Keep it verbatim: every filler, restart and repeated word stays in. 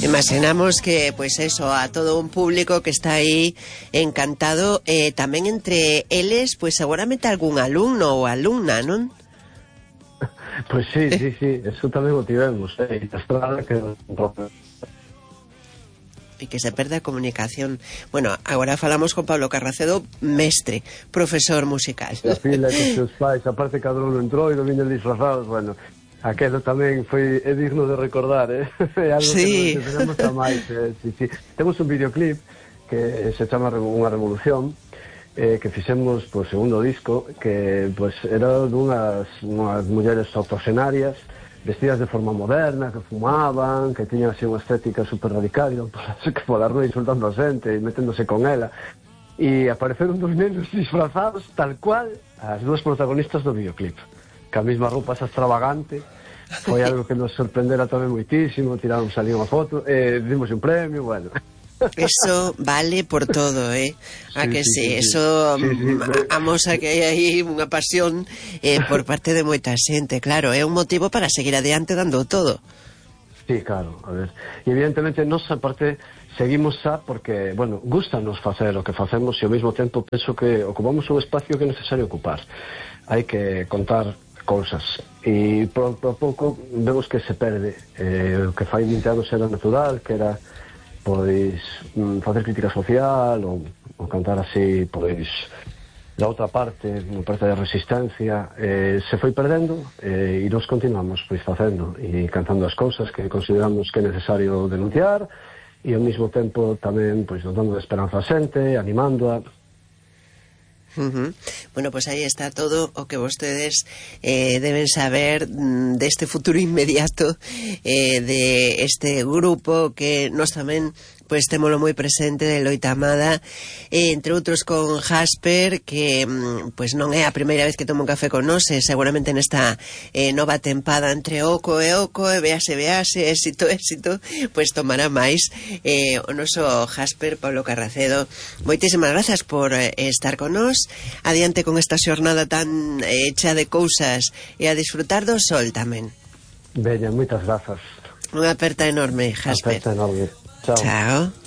Imaginamos que, pues eso, a todo un público que está aí encantado, eh, tamén entre eles, pues seguramente algún alumno ou alumna, non? Pois sí, sí, sí, eso tamén o tivemos, eh, a estrada que... E que se perde a comunicación. Bueno, agora falamos con Pablo Carracedo, mestre, profesor musical. A fila que os seus pais, aparte cada uno entrou e non viñen disfrazados, bueno, aquelo tamén foi é digno de recordar, eh? É algo sí. que non tenemos a máis, eh? Sí, sí. Temos un videoclip que se chama Unha Revolución, eh, que fixemos po segundo disco, que pues, era dunhas unhas mulleres octogenarias vestidas de forma moderna, que fumaban, que tiñan así unha estética super radical, que polas noite insultando a xente e meténdose con ela, e apareceron dos nenos disfrazados tal cual as dúas protagonistas do videoclip, que a mesma roupa esa extravagante. Foi algo que nos sorprendera tamén moitísimo, tiramos ali unha foto, e dimos un premio, bueno. Eso vale por todo, eh? A sí, que sí, sí, sí, eso sí, sí, sí. amosa que hai aí unha pasión eh, por parte de moita xente, claro, é un motivo para seguir adiante dando todo. Sí, claro, a ver, e evidentemente nos aparte seguimos xa porque, bueno, gustanos facer o que facemos e ao mesmo tempo penso que ocupamos un espacio que é necesario ocupar. Hai que contar cousas e por, por pouco vemos que se perde eh, o que fai vinte anos era natural, que era pois facer crítica social ou, ou cantar así pois da outra parte, unha parte de resistencia, eh, se foi perdendo eh, e nos continuamos pois facendo e cantando as cousas que consideramos que é necesario denunciar e ao mesmo tempo tamén pois dando esperanza a xente, animándoa. Uh-huh. Bueno, pues aí está todo o que vostedes eh, deben saber mm, deste futuro inmediato eh, de este grupo que nos tamén pues témolo moi presente de Loita Amada, eh, entre outros con Jasper, que pues non é a primeira vez que toma un café con nós, eh, seguramente nesta eh, nova tempada entre oco e oco, e vease, vease, éxito, éxito, pues tomará máis eh, o noso Jasper, Pablo Carracedo. Moitísimas grazas por eh, estar con nós, adiante con esta xornada tan eh, hecha de cousas e a disfrutar do sol tamén. Bella, moitas grazas. Unha aperta enorme, Jasper. Aperta enorme. Chao. Chao.